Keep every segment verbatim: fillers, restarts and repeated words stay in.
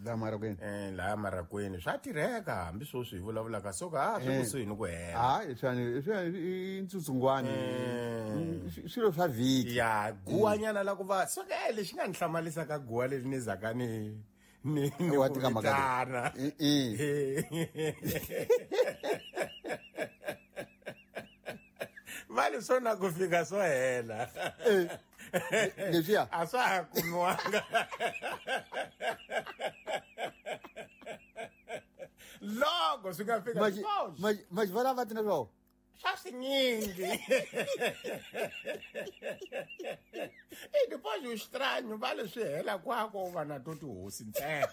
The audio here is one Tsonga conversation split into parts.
La Marakweni. Eh la Marakweni swa tirheka hambi sweswi hi vulavulaka so ka swi kusuhi ni ku hela. Ah leswi leswi i ntsutsungwani swilo swa vhiki. Ya guwanyana la ku va so ke lexi nga ni hlamalisa ka guwa leri ni zaka ni ni ni wa tika mhaka leyi. Vale sona ku fika swo hela. Leswiya a swa ha kumiwanga. Loko swi nga fika maji va lava tina swo swa swinyingi. E depois o estranho vale swi hela kwako u va na to tihosi ntsena.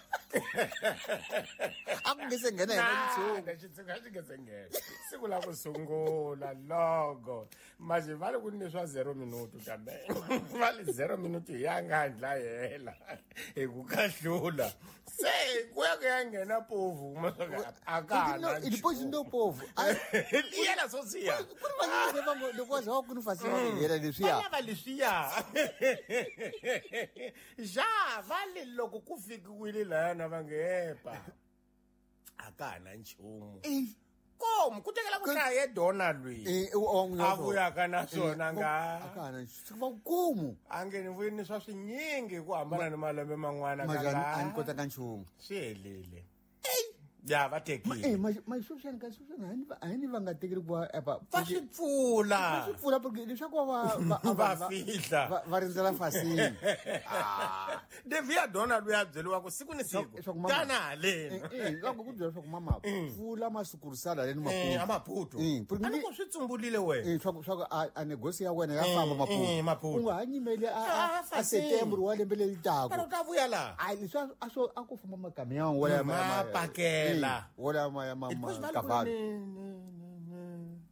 A ku nge se nghena hina xitshungu. Xitshungu a xi nge se nghena. Siku la ku sungula loko maji vale ku ni swa zero minuto kambe vale zero minuto ya nga ndla hela hi ku kahlula se ku ya ku ya nghena povu a ka na depois ndo povu yena so siya ku ri vanyingi va ngo loko za ku ni fasela va hela leswiya va lava leswiya ja vale loko ku fikiwile lana va nge epa a ka ha na nchumu komu ku tekela ku hlaya dona lwi a vuyaka na swona nga a ka ha na nchumu va komu a nge ni vuyini swa swinyingi ku hambana ni malembe man'wana ka la a ni kotaka nchumu swi helile ya va tekile eh ma ma sweswi ka sweswi a ni a ni va nga tekeli ku va va swi pfula va swi pfula porque leswaku va va fihla va rindzela fasini ah devia dona luya byeliwa ku siku ni siku tana haleni eh loko ku byela swa ku mama pfula masukurisala leni Maputo a Maputo a ni ku swi tsumbulile wena eh swa swa a negosi ya wena ya famba Maputo Maputo u nga ha nyimele a a September wa lembe leri taka ka ta vuya la ai leswi a swo a ku famba makamion wala ma pakela wala ma ya mama kavalo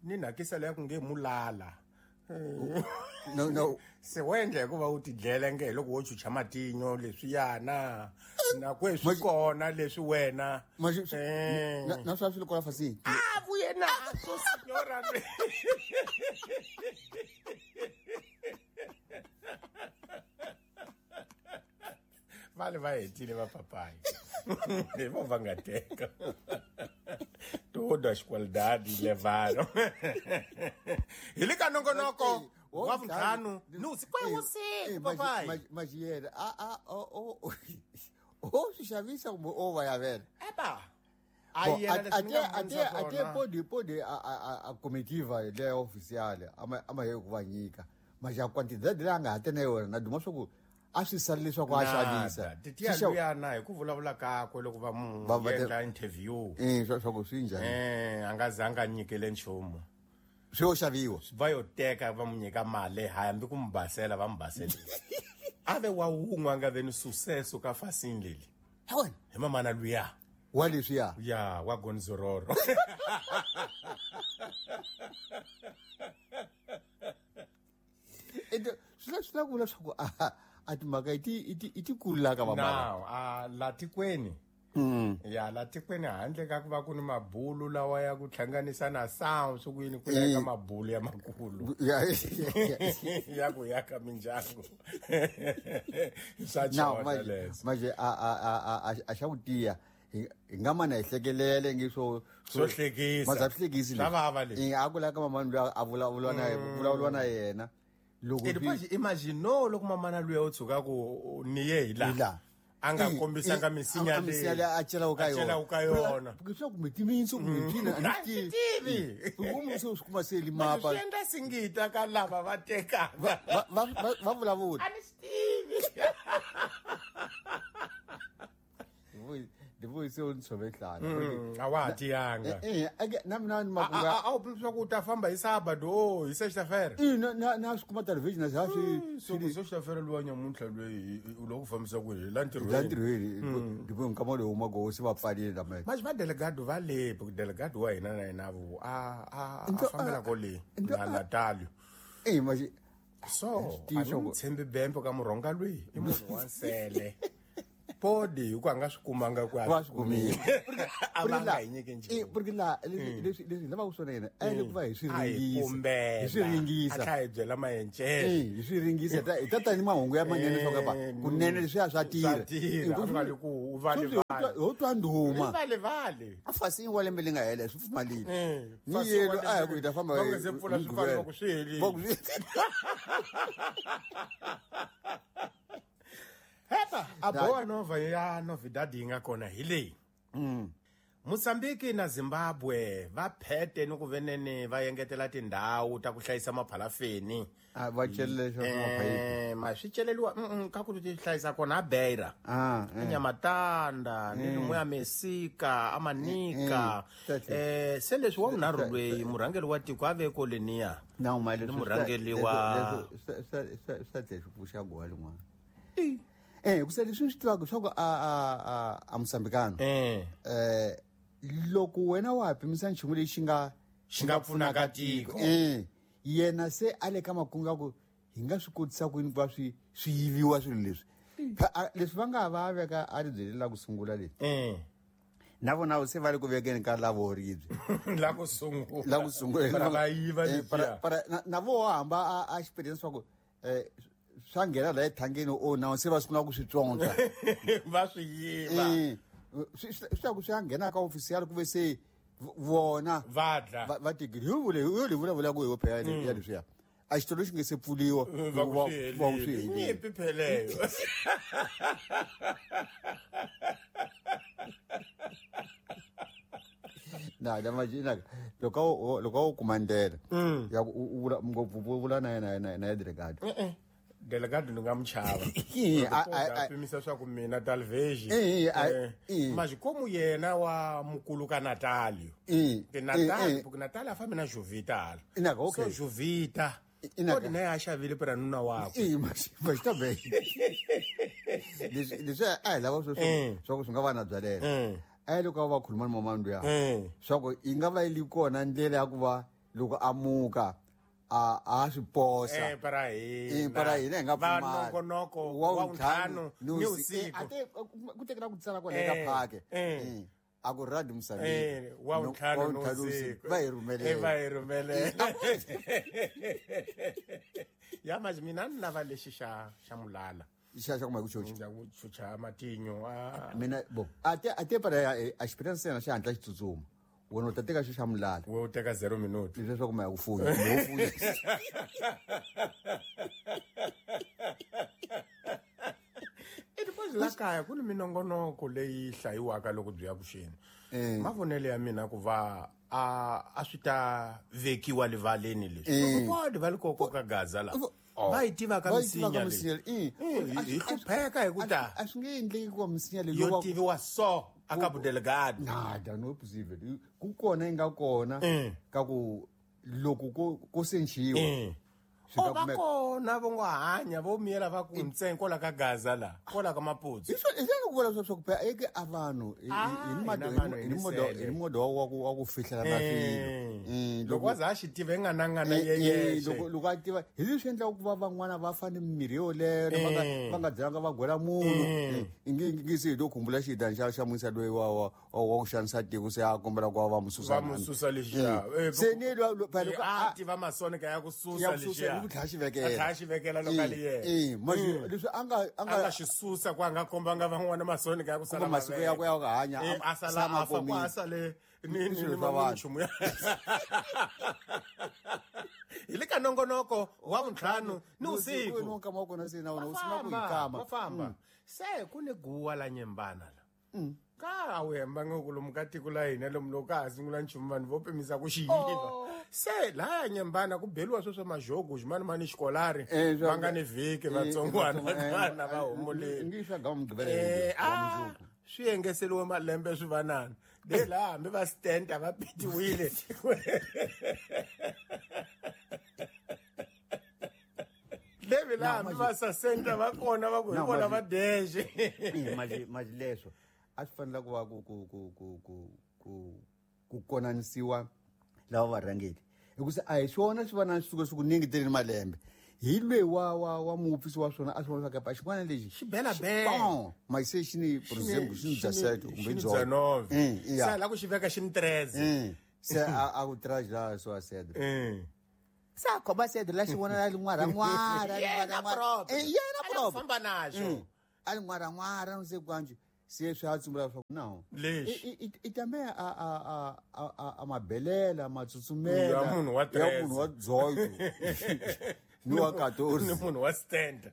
ni nakisa leya ku nge mulala no no se wendle ku va u tidlela nge loko wo chucha matinyo leswiyana na kweswi kona leswi wena na swa swilo kola fasi a vuye na so signora vale va hetile va papai hi vo va nga teka todas qualidades levaram hi le ka nongonoko wa vuntlhanu nusi kwe wusiku papai mas yena a a o o o swi xavisa kumbe o va yavela eba a ate ate pode pode a a a comitiva leya oficial ama ama ye ku va nyika mas a quantidade leyi a nga ha tena yona na duma swa ku a swi sali leswaku a xavisa titiya luyana hi ku vulavula kakwe loko va mu endla interview eh swa ku swi njhani eh a nga zanga a nyikele nchumu swi yo xaviwa va yo teka va mu nyika mali hambi ku mu basela va mu baselile a ve wa wun'we a nga ve ni sucesso ka fasini leli hi mamana luya wa leswiya ya wa Gonzororo ende swi swi la ku vula leswaku a a timhaka i ti i ti i ti kula ka mamana now a la tikweni ya la tikweni handle ka ku va ku ni mabulu lawa ya ku hlanganisa na sound swi ku yini ku ya ka mabulu ya makulu ya ku ya ka mindyangu swa chona leswo manje a a a a xa ku tiya hi nga mana hi hlekelele ngi swo swo hlekisa maza swi hlekisi swa vava leswi a ku la ka mamani loyi a vulavula na vulavula na yena loko depois imagino loko mamana luya u tshuka ku ni ye hi la a nga kombisanga misinya leyi a celaka ka yona a celaka ka yona porque swa kumbe timitsu kumbe tina a ni tivi kumbe se swi kuma se li mapa swi endla singita ka lava va tekaka va va va vulavula a ni swi tivi depois se u ntshove nhlana a wa ha tiyanga eh na mina ni makunga a wu pimisa ku u ta famba hi sábado hi sexta-feira i na na na swi kuma television na swi swi sexta-feira luwa nyamuntlha loyi u lo ku fambisa ku hi la ntirhweni la ntirhweni depois nkama lowu huma se va pfalile lama manje va delegado va le delegado wa hina na yena vo a a a fambela ko le na Natal eh manje so a ni tshembi bembe ka murhonga loyi i munhu wa nsele podi hi ku a nga swi kumanga ku a swi kumile a va nga hi nyiki nchumu porque la leswi leswi lavaka swona yena a le ku va hi swi ringisa hi swi ringisa a tlha hi byela mayencele hi swi ringisa hi ta ta ni mahungu ya manene swa ku kunene leswiya swa tirha swa tirha ku u va Ho twa ndhuma. Vale vale. A fasini wa lembe li nga hela swi pfumalile. Ni yelo a ya ku hi ta famba hi se pfula swi famba ku swi helile. Hepa a boa nova ya novidade yi nga kona hi leyi. Mm. Mozambique na Zimbabwe va phete ni ku venene va engetela tindhawu ta ku hlayisa maphalafeni. A va celele swa maphayiphi. Ma swi celeliwa mm ka ku ti hlayisa kona a Beira. Ah, Nyamatanda ni lomu ya Mesika, Amanika. Eh se leswi wa vunharhu lweyi murhangeri wa tiko a ve ko leniya. Na mali murhangeri wa sa sa sa tlhe pfuxa gowa lin'wana. Eh ku se leswi swi tivaka swa ku a a a Mozambikano. Eh. Eh loko wena wa pimisa nchumu lexi nga xi nga pfunaka tiko. Eh yena se a le ka makungu ya ku hi nga swi kotisa ku yini ku va swi swi yiviwa swilo leswi. Leswi va nga va veka a ri byeli la ku sungula leswi. Eh. Na vona se va le ku vekeni ka lavo ribye. La ku sungula. La ku sungula. Para va yiva leswiya. Para na vo hamba a experience swa ku eh swa nghena la ethangeni o na se va sungula ku swi tsonga. Va swi yiva. Eh swi swi ku swi nghena ka official ku ve se vona va dla va tigiri hi vule hi le vulavula ku hi phela ya leswiya. A xitolo xi nge se pfuliwa va ku swi nyimpi pheleyo. Na da imagina loko loko u kuma ndlela ya ku u vula ngopfu vula na yena na na delegado. Eh eh delegado ni nga muchava. A pimisa swa ku mina Talvez. Eh mas como yena wa mukulu ka Natalio. Ke Natalio porque Natalio a fambi na Jovita. Ina okay. So Jovita. Kodi naye a xavile para nuna wakwe. Eh mas mas tá bem. Leswi leswi a hi lava swo swa ku swi nga va na byalela. A loko va khuluma ni mama luya. Swa ku yi nga va yi li kona ndlela ya ku va loko a muka a a swi posa. Eh para hina. Eh para hina hi nga Va pfumali. nongonoko wa ntlhanu ni usiku. A te ku tekela ku tsala kwale ka phake. Eh. A ku radi Mozambique. Eh wa ntlhanu ni usiku. Va hi rhumelela. Eh va hi rhumelela. Ya mas mina ni lava lexi xa xa mulala. Xa xa kuma ku chocha. Ndza ku chucha matinyo a mina bo a te a te para a experience yena xi hatla xi tsutsuma. Wena u ta teka xi xa mulala. We u teka zero minute. Leswi swa kuma ya ku funya. Kumbe u funya. I depois la kaya ku ni minongonoko leyi hlayiwaka loko byi ya vuxeni. Mavonelo ya mina ku va a a swi ta vekiwa livaleni leswi. Loko va li koko ka Gaza la. Va yi tiva ka misinya leyi. Hi hlupheka hi ku ta. A swi nge endleki ku va misinya leyi yo tiviwa so a ka budelegado. Nada no possible. Ku kona yi nga kona ka ku loko ko ko senxiwa. O va kona vo ngo hanya vo miyela va ku ntsengo la ka Gaza la kola ka Maputsu. Hi swo hi ku vula swa ku phela eke a vanhu hi ni modo hi modo wa ku wa ku fihlela na swilo. Loko wa za a xi tiva nganangana yeye. Loko loko a tiva hi leswi endlaka ku va van'wana va fane mimirhi yoleyo va nga va nga byelanga va gwela munhu. Ingi ngi se hi lo khumbula xidani xa xa musa loyi wa wa wa ku xanisa tiko se a kombela ku va mususa. Va mususa lexiya. Se ni lo phela loko a tiva masonika ya ku susa lexiya. Ku tlhela xi vekela. A tlhela xi vekela loko a li yena. Eh manje leswi a nga a nga xi susa ku a nga kombanga van'wana masonika ya ku sala masiku ya ku ya ku hanya a sala a fa ku a sale ni ni nchumu ya. Hi le ka nongonoko wa vuntlhanu ni usiku. Ni nkama wa kona se na wona u sungula ku yi kama. Va famba. Se ku ni guwa la nyembana la. Ka a wu hembanga ku lomu ka tiko la hina lomu loko ka ha sungula nchumu vanhu vo pimisa ku xi yiva. Se laya nyembana ku beliwa swo swa majogo ximanimani xikolari va nga ni vhiki vatsongwana vana va humuleni. Ngi swa ga mugqivela wa swi engeseliwe malembe swi vanana. De laha hambi va stenta va pitiwile. Levi laha hambi va sasenta va kona va ku hi vona va dexe. Mali mali leswo a swi fanele ku va ku ku ku ku ku ku ku konanisiwa lava varhangeri. Hikuva a hi swona swi va na swi suka swi ku ningi malembe. Hi lweyi wa wa wa muupfisi wa swona a swi vona swa ku xin'wana lexi xi bela bela. Ma se xi ni for example xi ni dzaseto kumbe dzonove. Se la ku xi veka xi ni treze. Se a a ku traje la swa sedro. Se a khoma sedro la xi vona la lin'wara n'wara yena Eh yena famba naxo. A lin'wara n'wara no se kwanji. Se swi a tsumbula swa ku no. Lexi. I tame a a a a a mabelela matsutsumela. Ya munhu wa Ya munhu wa dzoyo. Ni wa quatorze. Ni munhu wa stand.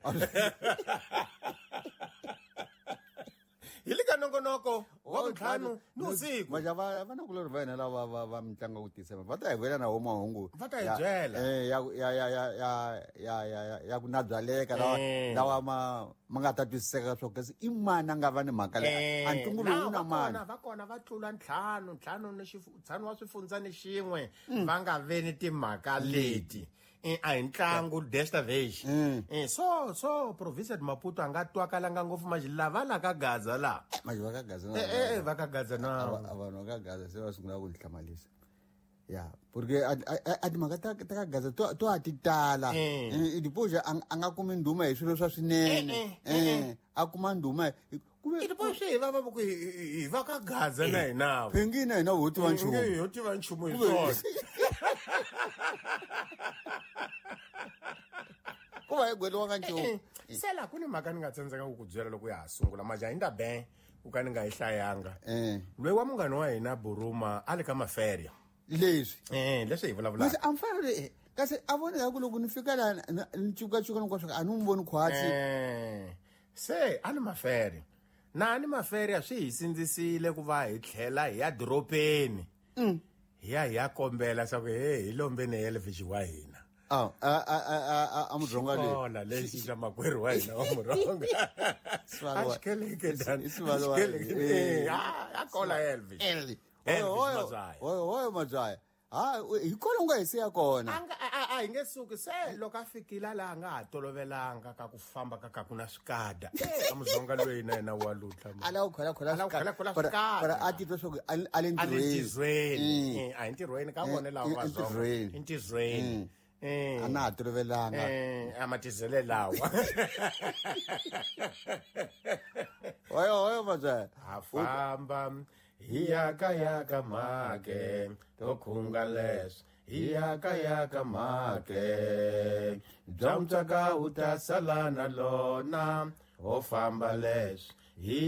Hi le ka nongonoko wa vuntlhanu ni vusiku. Maja va va na kulori va hina lava va va mitlangu ku tisa va ta hi vuyela na wo mahungu. Va ta hi byela. Eh ya ya ya ya ya ya ya ku nabyaleka lawa lawa ma ma nga ta twisiseka swo kasi i mani a nga va ni mhaka leyi. A ntungu lowu na mani. Va kona va tlula ntlhanu ntlhanu ni ntlhanu wa swifundza ni xin'we va nga ve ni timhaka leti. A hi ntlangu desta vez. Eh so so province de Maputo a nga twakalanga ngopfu manje lava la ka Gaza la. Manje va ka Gaza na. Eh eh va ka Gaza na. Vanhu va ka Gaza se va sungula ku ni hlamalisa. Ya, porque a a timhaka ta ta ka Gaza to to a ti tala. I dipoja a nga kumi ndhuma hi swilo swa swinene. Eh a kuma ndhuma kuve i swi hi va va ku hi va ka Gaza na hina. Pengina hina ho tiva nchumu. Ho tiva nchumu hi swona. Ku va hi gweliwa ka nchumu. Se la ku ni mhaka ni nga tsandzeka ku ku byela loko ya ha sungula maja hi nda ben ku ka ni nga yi hlayanga. Loyi wa munghana wa hina Buruma a le ka maferia. Leswi. Eh leswi hi vulavulaka. Mase a mfanele kasi a voneka ku loko ni fika la ni cukacuka hinkwaswo a ni n'wi voni khwatsi. Eh se a ni maferia. Na ni maferia swi hi sindzisile ku va hi tlhela hi ya doropeni. Hi ya hi ya kombela swa ku he hi lombeni Elvis wa hina. Ah a a a a muronga le. Hola lexi xa makwerhu wa hina wa muronga. A xikeleke dan. Eh a kola Elvis. Elvis. Oyo oyo Mazaya. Ha hi kona nga hi siya kona. A nga a hi nge suki se loko a fikile la nga ha tolovelanga ka ku famba ka ka ku na swikada. A muzonga loyi na yena wa lutla. A la ku khola khola swikada. Para a titwa swa ku a le ntirhweni. A hi ntirhweni ka vona lawa va zonga. Entirhweni. Eh. A na ha tolovelanga. Eh, a matizele lawa. Oyo oyo Mazaya. A famba hi ya ka ya ka make to khunga leswi hi ya ka ya ka make bya mutswaka u ta sala na lona ho famba leswi hi